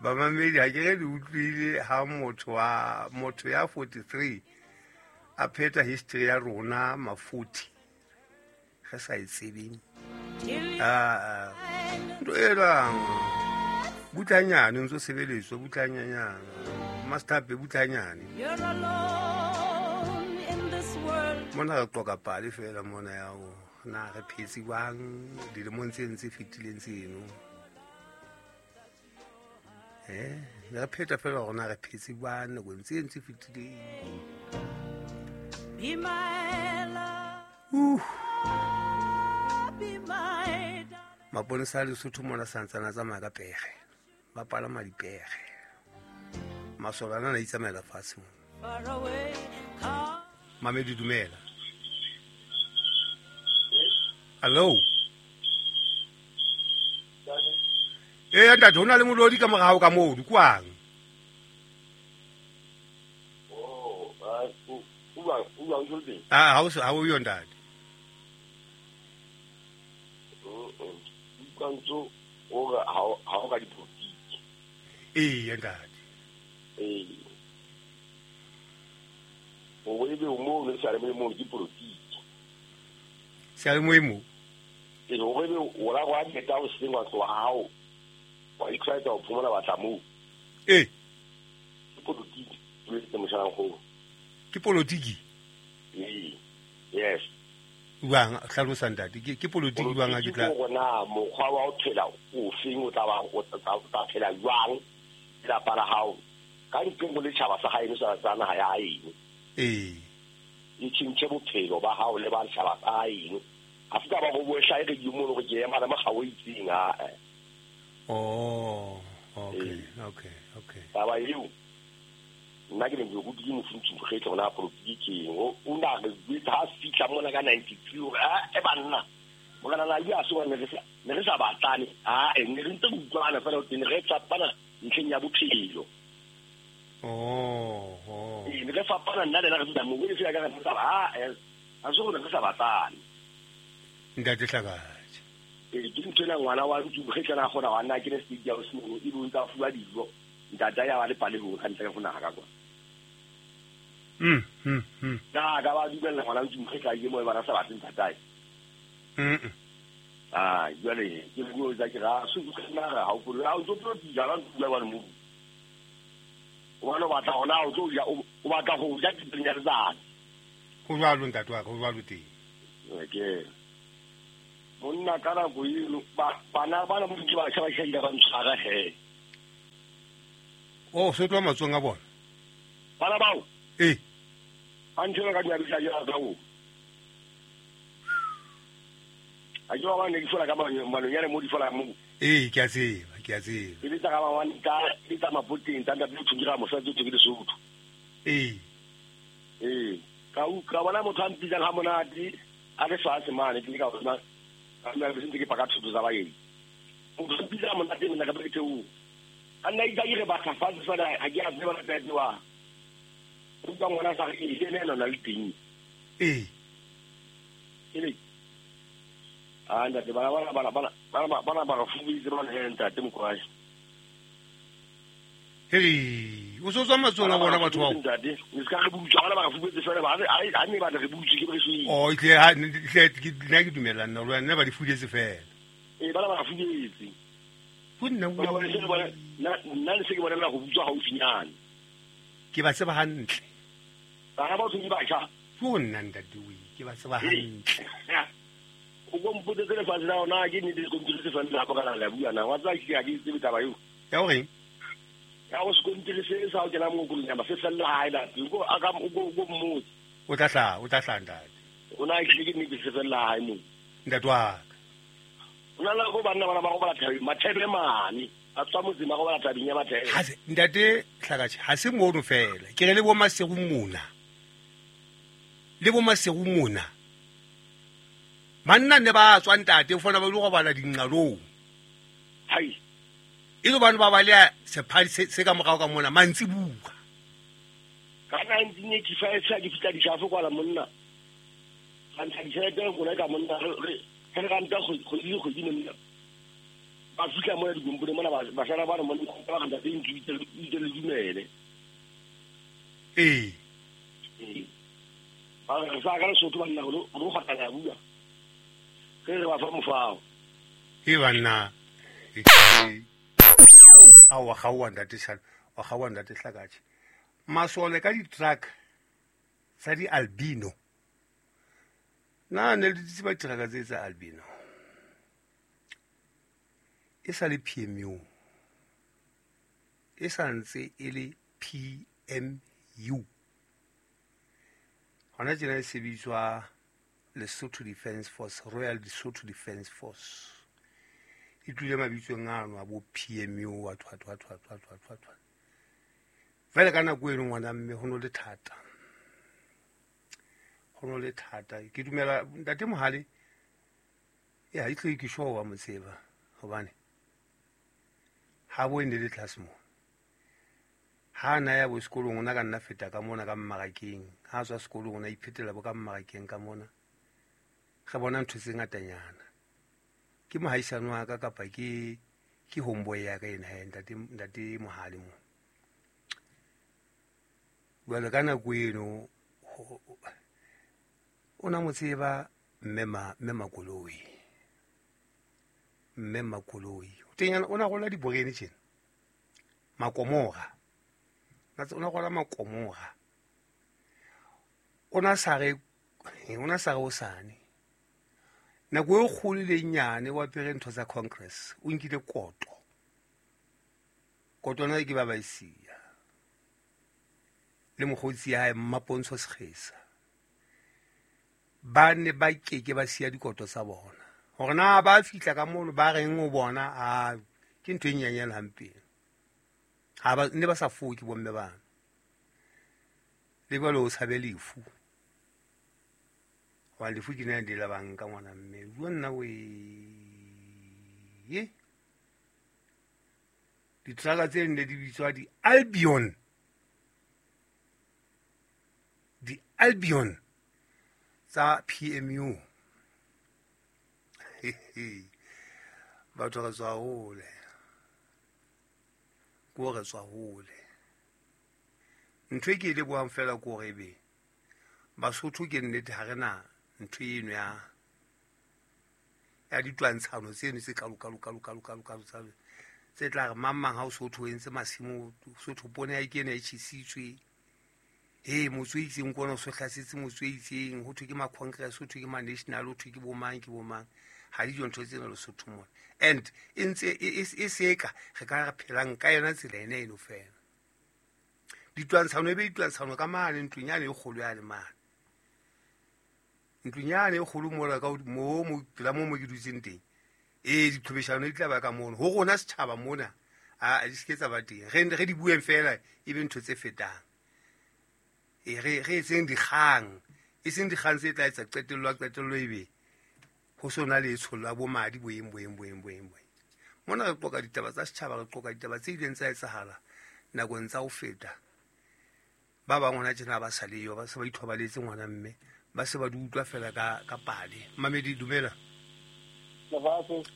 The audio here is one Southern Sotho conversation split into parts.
Bamamedi ha ke re le utlwile ha motho wa motho ya 43 a pheta history ya rona mafuthi re sa e tsebeng. Ah, ntho e jwang? Butlanyane o ntso sebeletswa butlanyanyana. Master P butlanyane. Mona re qoka pale fela mona ya ho na re phetse jwang dilemong tse ntse fetileng tseno. Re pheta fela hore na re phetse jwang nakong tse ntse fetileng. Be my love. Be my darling. Maponesa a Lesotho mona santsana tsamaya ka pere. Ba palama dipere. Masole ana a itsamaela fatshe mona. Far away, come. Mamedi dumela. Hello. Ntate, ho na le molodi ka morao ka moo, kwang? Oh, o bang jwang? Ah, ha o yo ntate. Utlwa o re ha o ka dipolotiki. Ee, ntate. Ee. O ebe o mo le sa le mo ke polotiki. Se le mo? Ee, o ebe o la go qeta o sengwa tloha hao. Wa itlwaetsa ho phomola batla moo. Ee. Ke polotiki, o etse moshalang go. Ke polotiki? Ee. Yes. Bang hlalosa ntate, ke polotiki bang ha ke tla. Ke na mokgwa wa ho phela o feng o tla ba o tla phela jwang lelapa la hao ka ntle ho letjhaba sa haeno sa naha ya haeno. Ee. E tjhentjhe bophelo ba hao le ba setjhaba sa haeno. Ha se taba ho bo hlahe re di mono re ke ema le mokga o itseng ha. Oh, okay, okay, okay. Taba eo nna ke ne ke rutile mofuntsi mokgetlo hona polotiki ke eng. O na re jwetsa ha fihla mona ka 93 hore e banna morena na ya so ne re sa batlane a ne re ntse re utlwana fela ne re fapana ntlheng ya bophelo. Oh, oh. Ee, ne re fapana nna le nna re fihla moo, e fela ka re sa ba a so re sa batlane. Ntate Hlakatjhe. Ee, ke ntho ena ngwana wa ntsu mokgetlo na kgona wa nna ke ne state house mono e bo ntsa fuwa dijo. Ntata ya ba le palehong ka ntle ho naha ka kwa. Na ka ba dumella ngwana ntsu mokgetlo a ye moo ba sa batle ntatae. Ah, jwale ke bua tsa ke ra so ke nna ha o polo ha o tlo polo ja la ntula wa mo. O bana batla hona o tlo ja o batla ho ja dipenya letsatsi. Ho jwalo ntate wa ka, ho jwalo teng. Ke monna ka nako eno bana bana mo ke ba tshaba tshaba ba ntshwara he. Oh, se tloha matsong a bona. Bana bao? Ee. Ba ntshwara ka diabisa ja ka o. A ke ba ne ke fola ka manonyane mo di fola mo. Ee, ke a tseba, ke a tseba. E le tsa ka ba tsa le tsa mapoteng tsa ntate o thungira mosadi o thungira Lesotho. Ee. Ee, ka bona motho a mpitsang ha monate a le fatshe mane ke ka bona ka nna ke sentse ke paka thuto tsa baeng. Motho a mpitsang monate nna ka ke theo. A nna itse re batla fatshe fela ha ke a tseba la tete wa. O utlwa ngwana sa re e le ena le teng. Ee. Ke ah ntate bana ba fubitse ba le ntate Mokwashi. Hey, o so tswa matsong a bona batho bao. Ntate, o ska re butsa bana ba fubitse fela ba ha ne ba re butse ke re shwe. Oh, itle ha itle ke nna ke dumela nna lwa nna ba di fudetse fela. Ee, bana ba fubetse. Go nna nna le se ke bona go butswa haufinyane. Ke ba tseba hantle. Bana ba tswe ba tjha. Go nna ntate we, ke ba tseba hantle. O go mpotse lefatshe la ona ke nnete sekontiri se fela hapo kana la bua na wa tsa ke a ke tsebe taba eo. Ya o reng? Ya o sekontiri se sa o kena mo kolong ya ba se fella hae la go a ka go go mmotse. O tla hla ntate. O na ke nnete se fella hae mo. Ntate wa ka. O na le go banna bana ba go bala thabeng mathebe mane a tswa motseng ba go bala thabeng ya mathebe. Ha se ntate Hlakatjhe ha se mono fela. Ke re le bo Maseru mona. Le bo Maseru mona. Banna ne ba tswa ntate o fona ba ile go bala dinqalong. Hai. E le bana ba ba le sephadi se ka morao ka mona mantsi bua. Ka 1985 ke fitla dishafo kwala monna. Ka ntsha ditjhelete go reka monna re ranta kgwedi le kgwedi monna. Ba fihla mona dikompone mona basala ba re mona ba re ntate ntse le dumele. Ee. Ba re sa ka Lesotho banna go go kgotla ya bua. Ge re ba fa mofao. E banna. A wa gawa ntate sala, wa gawa ntate Hlakatše. Masole ka di-truck tsa di-albino. Na ne le tseba truck tse tsa albino. E sa le PMU. E sa ntse e le PMU. Hona tjena e sebitswa Lesotho Defence Force, Royal Lesotho Defence Force. E tlile mabitsong ano a bo PMU wa thwa thwa thwa thwa thwa thwa thwa. Fela ka nako eno ngwana mme ho no le thata. Ho no le thata. Ke dumela ntate Mohale ya itle ke showa motseba hobane ha bo ene le tlase mo. Ha na ya bo sekolong ona ka nna feta ka mona ka mmarakeng. Ha tswa sekolong ona iphetela bo ka mmarakeng ka mona. Re bona ntho tse ngatanyana. Ke mohaisano wa ka kapa ke homeboy ya ka ena ntate Mohale mo. Jwale ka nako eno o na mo tseba mme Makoloi. Mme Makoloi. Teng o na gola diborene tjena. Makomora. O na gola makomora. O na sa re o sane. Nako e kgolo le nyane wa apere ntho tsa Congress, o nkile koto. Koto na ke ba ba isia. Le mokgotsi ya hae Mmapontsho Sekgesa. Ba ne ba keke ba siya dikoto tsa bona. Hore na ba fihla ka mono ba reng o bona a ke ntho e nyenyane hampe. Ha ba ne ba sa foke bomme bana. Le jwale o tshabe lefu. Wa lefu ke nna di la banka ngwana mme. Bua nna we. Ye. Ditraka tse nne di bitswa di Albion. Di Albion tsa PMU. Batho re tswa hole. Ko re tswa hole. Ntho e ke e lebohang fela ko hore ebe Basotho ke nnete ha re na ntho eno ya ditwantshano tseno tse kalo tse tla re mang mang ha o Sotho o entse masimo Sotho pone ya ke ena e tjhesitswe. He motho o itseng kona o so hlasetse motho o itseng ho thwe ke ma Congress ho thwe ke ma National ho thwe ke bo mang ke bo mang. Ha di ntho tsena Lesotho mona. And e ntse e seka re ka re phelang ka yona tsela ena eno fela. Ditwantshano e be ditwantshano ka mane ntlong yane e kgolo yane mane. Ntlong yane e kgolo mola ka mo mo pela mo mo ke dutseng teng. Ee diqhobeshano di tla ba ka mono. Ho rona setjhaba mona a di se tsa ba teng. Re di bueng fela e be ntho tse fetang. E re etseng dikgang. E seng dikgang tse tla etsa qetello ebe ho sona le tshollo bo madi boeng. Mona re qoka ditaba tsa setjhaba, re qoka ditaba tse ileng tsa etsahala nakong tsa ho feta. Ba bang hona tjena ba sa leyo, ba se ba ithobaletse ngwana mme, ba se ba di utlwa fela ka pale. Mamedi dumela.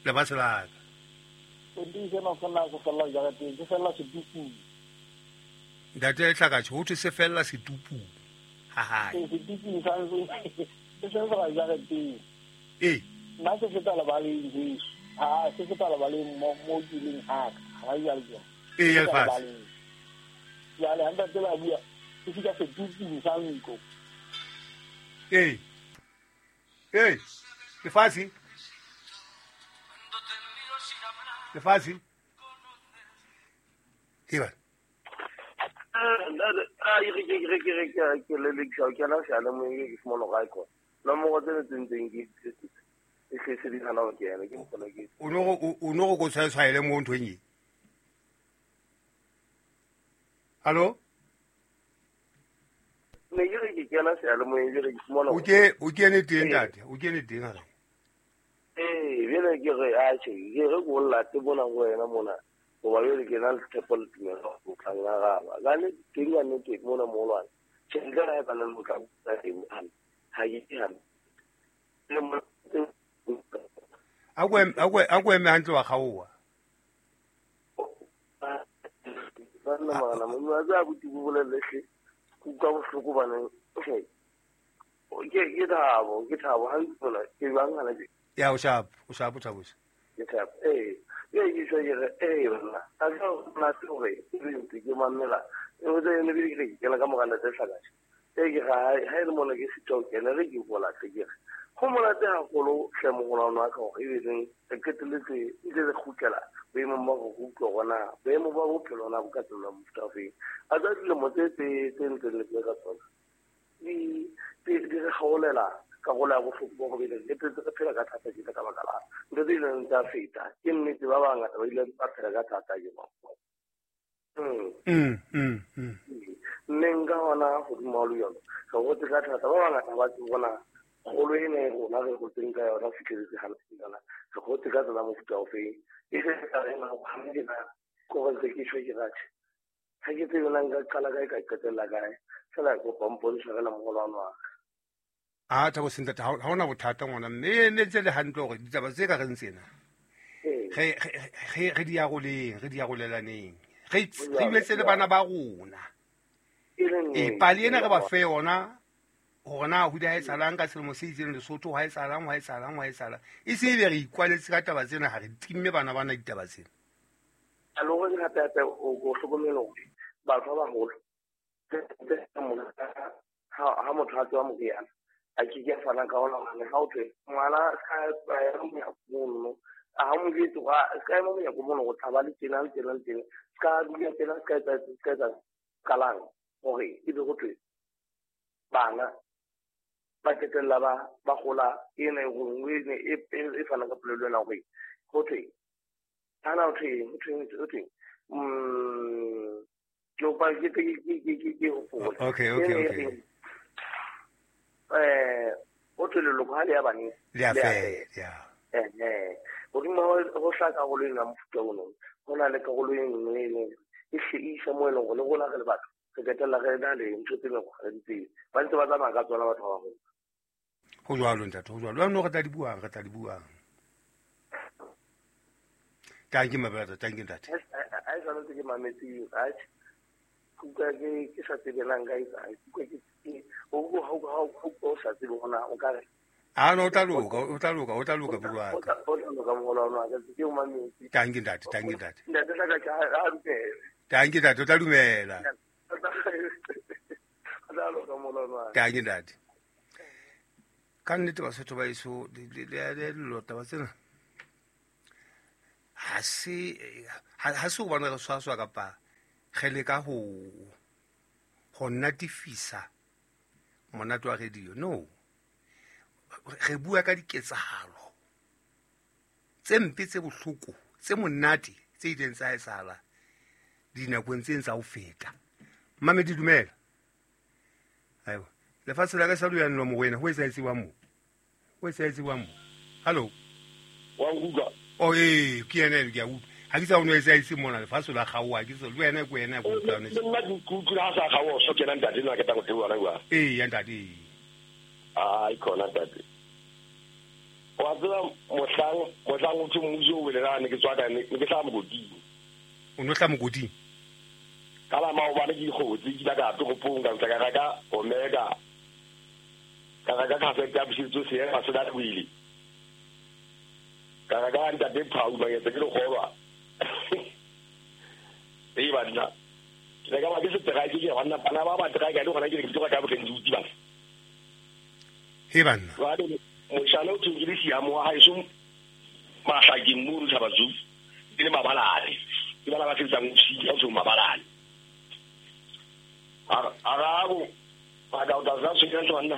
Lefatshe la ka. O ntse no fela go fela jarateng, ke fela setupung. Ntate Hlakatše ho thwe se fella setupung. Ha ha. Setupung sa se se fela jarateng. Ee. Nna se feta lebaleng jesu. Ha se feta lebaleng mo ke leng ha ka. Ha ya le. Ee lefatshe. Jwale ha ntate ba bua se fika setupung sa ntlo. Ee. Ee. Lefatshe. Lefatshe. Eba. Ke le le ke la se le mo ke fumana ga ko. No mo go tse ntseng ke e se di hana go kena ke mokgona ke. O no go tshwaele mo nthong e. Hallo? Ne ke re ke kena se le mo e re ke fumana. O ke ne teng ntate, o ke ne teng ha re. Eh, bjale ke re a che, ke re go late bona go wena mona. Goba bjale ke na le tshepo le tumelo go tla ngaraba. Ka ne teng ya nnete mona molwane. Tjhelete ha e ba le motla ha ke hane. A go eme hantle wa gaowa. Khona magana mo a tsa buti bo bolelle hle. Kuka bohloko bana. Okay. Ke thabo ha ntse ke bang hana ke. Ya o sharp Thabo. Ke thabo. Eh, ke se ke re bana. A ka na tsoge ke ke mamela. E o tse ne ke ke la ka mogala tse hlakashe. E ke ga ha ile mona ke sitwa ke ne re ke bola ke re. Go monate haholo hle mogolwane wa ka gore e beng re qetelletse ntse re kgutlela boemong ba go utlwa gona boemo ba bophelo na bo ka tsela mofuta ofeng a tsa dilemo tse ntseng le ka tsona di re gaolela karolo ya bohloko bo go bele le tse re phela ka thata ke ka baka la ntho tse ileng tsa feta ke nnete ba bangata ba ile ba phela ka thata ke ba mme nka gona godimo le yone re gotse ka thata ba bangata ba tse bona golo e ne rona re gotseng ka yona fitlheletse gana yona re gotse ka tsela mofuta ofeng e se ka rena go gana ko go ntse ke shwe ke rathe ga ke tsebe na nka qala kae ka qetella kae fela ko pompontsha fela mogolwane wa ka. A Thabo sentate ha hona bothata ngwana mme ne ntse le hantle hore ditaba tse ka reng tsena re di aroleng re di arolelaneng re ibetse le bana ba rona e pale ena re ba fe yona hore na ho di ha etsahalang ka selemo se itseng Lesotho ha etsahalang e se ebe re ikwaletse ka taba tsena ha re timme bana bana ditaba tsena. A le hore hape o hlokomele hore batho ba baholo ha motho a tswa moriana a ke ke fana ka ona hobane ha o thwe ngwana ska ya monyako mono ha mo jwetse ga ska ema monyako mono go tlhaba le tjena le tjena le tjena ska dula tjena ska etsa kalang hore e be go thwe bana ba qetella ba gola ena e gongwe e fana ka polelo ena gore go thwe ana o thwe ke opa ke hopola. Okay o thwe leloko ha le ya baneng le a fela ya godimo go hla karolo ena mofuta ono go na le karolo e nngwe e leng e hle e isa mo e leng gore le rona re le batho re qetella re na le ntho tse leng gore re di tsebe ba ntse ba tsamaya ka tsona batho ba bagolo. Go jwalo ntate, go jwalo. Jaanong re tla di buang. Thank you my brother, thank you ntate. A e swanetse ke mametse atjhe kuka ke sa tsebelang ka etsang kuka ke o sa tsebe gona o ka re a no o tla loka bro wa ka. O tla loka mogolwane wa ka ke o mametse. Thank you ntate. Ntate tla ka a dumela. Thank you ntate, o tla dumela. Thank you ntate. Ka nnete Basotho ba eso le taba tsena ha se hobane re swaswa kapa re leka ho natifisa monate wa radio. No, re bua ka diketsahalo tse mpe tse bohloko tse monate tse ileng tsa etsahala dinakong tse tsa ho feta. Mmamedi dumela. Aiwa lefatshe la ka sa lo mo wena ho etsaetse wa mo. Hello. Wa nkutlwa? Oh ke ena ke a utlwa. Ha ke sa o no etsaetse mona lefatshe la gaoa ke se le wena ke wena go utlwa ne. Nna ke utlwa ha sa gaoa so kena ntate nna ke tla go theoha la bua. Ee ya ntate. Ai khona ntate. Wa tseba mohlang o thwe mmuso o wele ne ke tswa ka ne ke tla mokoting. O no tla mokoting? Ka la maobane ke dikgotsi ke la ka toropong ka ntla ka reka Omega. Ka reka cassette ya Boshetso Seema se da wile. Ka reka ntate Phau ba yetse ke le kgolwa. E banna. Ke ka ba ke setrike ke banna bana ba trike le gona ke ke tloga ka bokeng di ba. He banna. Jwale moshana o thwe ke le siamo wa haeso mahlakeng mo re tshaba tsu ke le mabalane. Ke bana ba sebetsang ofising ya ho mabalane. Arabo ba ka o tla se ke banna.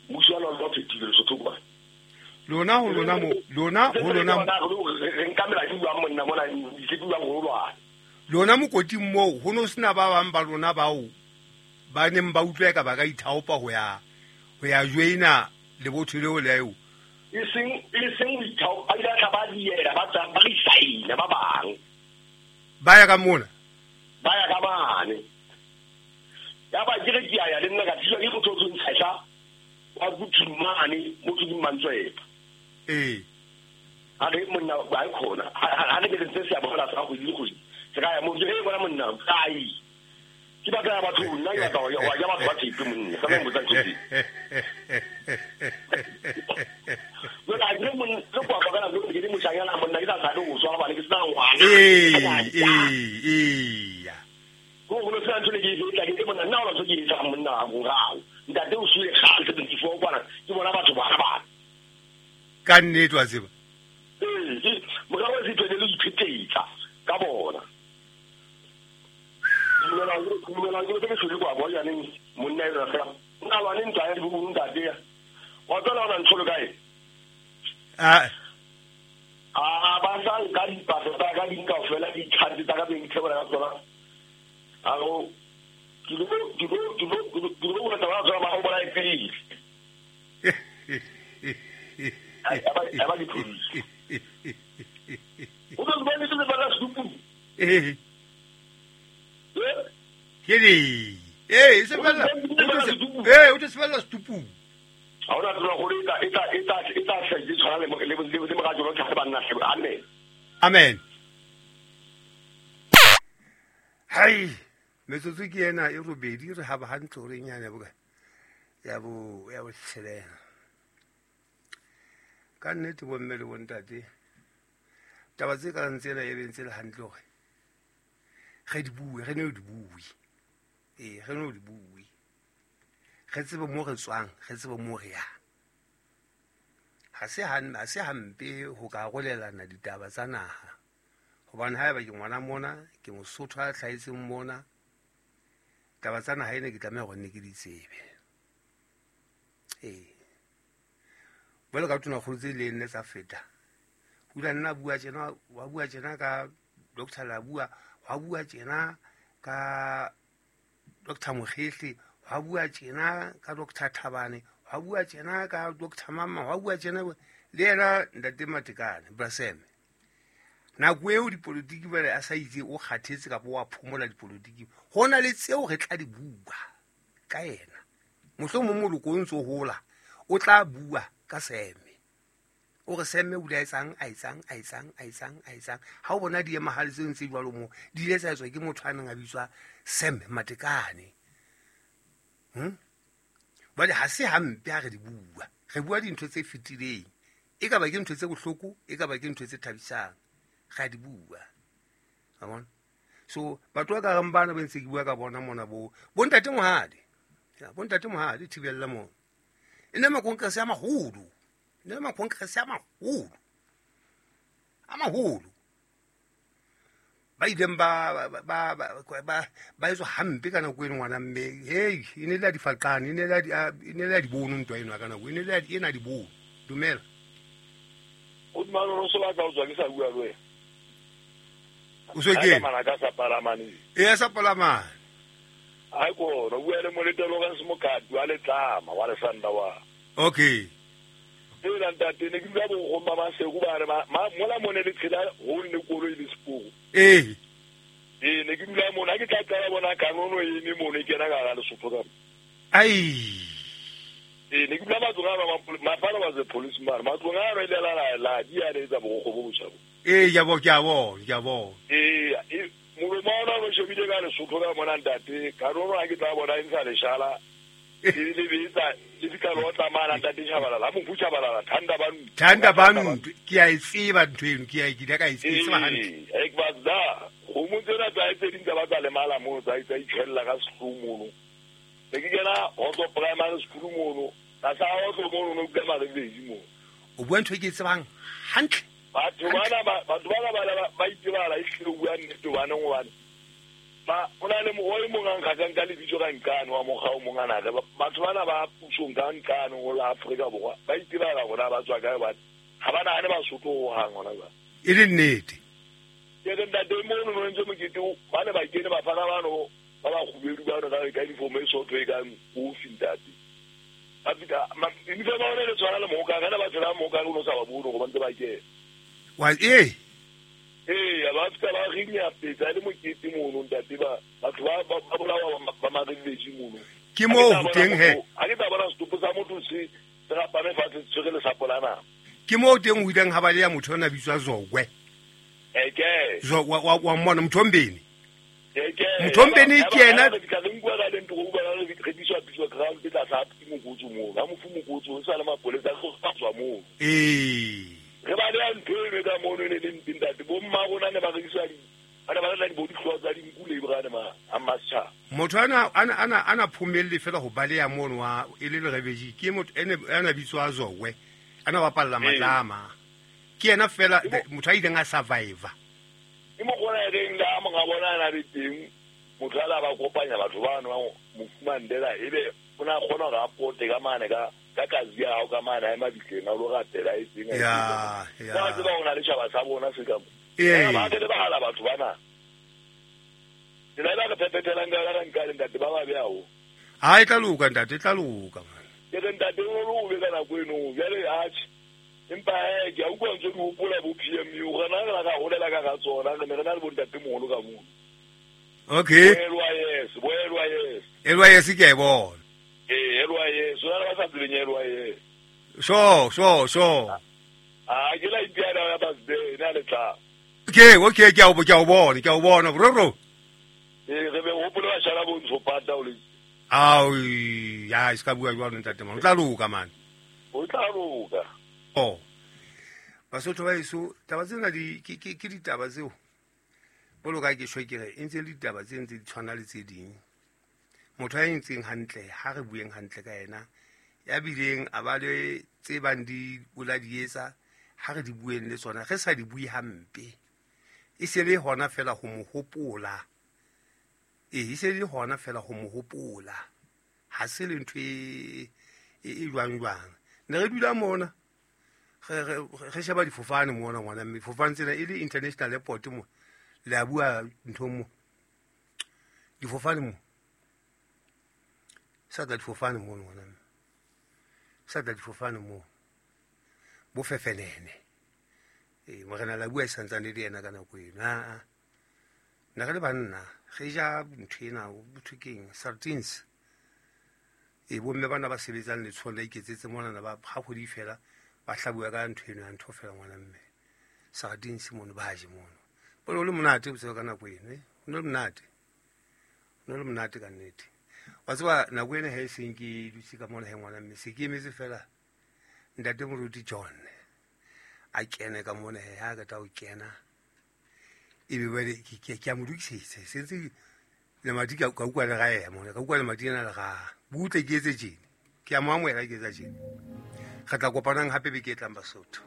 Mmuso wa lona o phethile Lesotho kwa. Lona ho lona mo lona ho lona re nka mela di buang monna mona di buang ho lwana. Lona mokoting moo ho no sena ba bang ba lona bao ba neng ba utlwa ka ba ka ithaopa ho ya joina lebotho leo le eo. E seng ho ithaopa ba ile tla ba diela ba tsa ba resign ba bang. Ba ya ka mona. Ba ya ka mane. Ya ba ke re ke ya le nna ka tswa ke motho o ntsha wa kuthumane motho ke mantswe. Ee. A re monna ba khona ha ne ke ntse se ya bona sa go ile go Se ka ya mo ke bona monna ai. Ke ba ka batho nna ke batla wa ja batho ba tshepe monna. Ka mo botsa ntho. Jwale a ke monna le kwa ba kana ke di moshanyana monna ke tla tshabe go swara bana ke sena ngwana. Ee. Go go se ntho le ke e tla ke monna nna o ntho ke e tsa monna go gao. Ntate o sule kgale 74 kwana ke bona batho ba ba. Ka nnete wa tseba. Ee, morao se tswele le iphetetsa ka bona. Dumela ke se le kwa bo yaneng monna e re fela. Nna lwane ntwa ya di ntate ya. Wa tsela ona ntho le kae? Ah. Ah ba sa ka dipasa tsa ka di kaofela di tshantse tsa ka beng thebola ka tsona. A go ke lo go tla ba ba go bola pele. Ai aba di police. O tlo bona le ba la supu. Eh. Ke di. Eh, se bella. Eh, o te se bella stupu. A ora tlo go re eta se di tshwana le mo ga jolo tsa banna se. Amen. Amen. Hai, metsotso ke ena e robedi re ha ba hantle hore nyane boka. Ya bo tshelela. Ka nnete bo mme le bo ntate. Taba tse ka ntsena e bentse le hantle hore re di bue, re ne di bue. Ee, re no di bue. Re tsebe mo re tswang, re tsebe mo re yang. Ha se hampe ho ka arolelana ditaba tsa naha. Hobane haeba ke ngwana mona, ke Mosotho a hlahetseng mona, taba tsa naha ena ke tlameha hore nne ke di tsebe. Ee. Jwalo ka tonakgolo tse le nne tsa feta. Ho ile nna bua tjena, wa bua tjena ka Dr. Labua, wa bua tjena ka Dr. Mokgehle, wa bua tjena ka Dr. Thabane, wa bua tjena ka Dr. Mama, wa bua tjena le yena ntate Matekane, Braseme. Nako eo dipolitiki ba a sa itse o kgathetse kapa wa phomola dipolitiki. Ho na le tseo re tla di bua ka yena. Mohlomong moloko o ntso hola, o tla bua ka Seme. O re Seme o ile a etsang. Ha o bona di emahale tse ntse jwalo mo, di ile tsa etswa ke motho a neng a bitswa Sam Matekane. Bale ha se hampe ha re di bua. Re bua dintho tse fetileng. E ka ba ke ntho tse bohloko, e ka ba ke ntho tse thabisang. Re di bua. Wa bona? So batho ba ka reng bana ba ntse ke bua ka bona mona bo ntate Mohadi. Ya bo ntate Mohadi thibella mona. E ne makonkrese a maholo. Ne makonkrese a maholo. A maholo. Ba ileng ba etswa hampe ka nako eno ngwana mme. Hey, e ne le a difaqane, e ne le a dibono ntwa eno ka nako. E ne le a ena dibono. Dumela. O dumela o se batla o tswa ke sa bua le wena. O se ke? Mana ka sa palamane. E sa palamane. Ai ko no bua le molete Lawrence Mokati wa letlama wa le sanda wa. Okay. Tsela ntate ne ke bua bo go mama se go ba re ma mola mone le tshela ho nne koloi le seporo. Eh. Ee ne ke dula mona ke tla qala bona kanono e ne mone kena ka ga Lesotho ka. Ai. Ee ne ke dula matlong a ba my father was a policeman. Matlong a re le la di a le tsa bo go bo tshabo. Ee ya bo ke a bona. Ee molomo ona o shebile ka Lesotho ka mona ntate kanono ha ke tla bona e ntsha leshala. E le betsa le fika lo tsamaya ntate Tshabalala mo Tshabalala thanda ba ke a e tseba ntho eno ke a ke ka e tseba hantle. E ke ba da go mo tsena tsa tse ding tsa ba tsa lemala mo tsa itsa itshella ka sehlooho mono. Ne ke kena Hotso Primary School mono ka sa Hotso mono no ke Marebedi mo. O bua ntho e ke e tsebang hantle. Batho bana ba itebala e hlile bua nnete bana ngwana. Ba ona le mo o mong a nkgatang ka lebitso ka nkane wa mokga o mong ana re batho bana ba pusong ka nkane ho la Afrika Borwa ba itebala rona ba tswa kae batho ha ba nahane Basotho ho hang hona ba e le nnete. Ke re ntate mono no ntse mokete ba ne ba kene bafana bano ba ba kgubedu ba no ka uniform e sotho e kang kofi ntate. Ba fika uniform ba ona le tshwana le moka kana ba tshela moka o no sa ba bone go ba ntse ba kene. Wa e Ee, ba fika ba rinya petsa le mokete mono ntate ba batho ba bolawa ba Marebedi mono. Ke mo ho teng he. Ha ke tla bona setopo sa motho se rapame fatshe tshwere lesapo la nama. Ke mo teng ho ileng ha ba le ya motho ona bitswa Zokwe. Eke. So wa mmona Mthombeni. Eke. Mthombeni ke yena ka re nkuwa ka lento go ba re rekiswa piswa ground ke tla sa ke mokotso mo. Ha mofu mokotso o sa le mapolesa go tswa mo. Ee. Re ba le ntho e ka mono ne le ntate bo mma rona ne ba rekiswa di. Ana ba la di bo dihlwa tsa dinku le brane ma a masha. Motho ana phomelle fela ho baleya mono wa e le rebedi ke motho ene ana bitswa Zowe. Ana ba palla matlama. Ke yena fela motho a ileng a survivor. Ke mo gona reng la mo ga bona na le teng motho ala ba kopanya batho ba no mofumandela ebe ona gona ga pote ka mane ka kazi ya hao ka mane a mabitleng a lo ratela e seng ya ya. Ba tseba ona le tshaba sa bona se ka mo. Ee. Ba ke le bahala batho bana. Ke la ba re phepethelang ka la nka le ntate ba ba beao. Ha e tla loka ntate, e tla loka man. Ke re ntate o lo be ka nako eno jwale atjhe. Empa ke a utlwa ntse ke hopola bo PMU rena re la ka holela ka ga tsona re ne re na le bo ntate moholo ka mono. Okay. Bo LYS. LYS ke e bona. Ee, LYS, o na ba sa tsebeng LYS. Sure. Ah, ke la ipiana ya birthday na le tla. Okay, ke a o bona, bro. Ee, re be hopola ba shala bo ntsho pata o le. Ao, ya e ska bua jwalo ntate man. O tla loka man. O tla loka. Oh. Basotho ba eso taba tsena di ke ditaba tseo. Boloka ke shwe ke re e ntse le ditaba tse ntse di tshwana le tse ding. Motho a entseng hantle ha re bueng hantle ka yena. Ya bileng a ba le tse bang di bola di etsa ha re di bueng le tsona re sa di bue hampe. E se le hona fela ho mo hopola. E se le hona fela ho mo hopola. Ha se le ntho e jwang jwang. Ne re dula mona. Re sheba difofane mona ngwana mme difofane tsena e le international airport mo. Le a bua ntho mo. Difofane mo. Sa tla difofane mo ngwana mme. Sa tla difofane mo. Bo fefenene. Morena la bua e santsane le yena ka nako eno. A. Nna re le banna re ja ntho ena botho keng sardines. Bo mme bana ba sebetsang letsholo la iketsetse mona ba ha kgwedi fela ba hlabuwa ka ntho eno ya ntho fela ngwana mme. Sardines mono ba je mono. Bone o le monate botshelo ka nako eno, O ne le monate. O ne le monate ka nnete. Wa tseba nako ena ha e seng ke dutse ka mona he ngwana mme se ke emetse fela ntate Moruti John a kene ka mona he ha ka ta o kena e be ba ke a mo lokisetsa se ntse lemati ka utlwa le ga ema ka utlwa lemati ena le ga butle ke etse tjena ke a mo amohela ke etsa tjena. Re tla kopanang hape beke e tlang Basotho.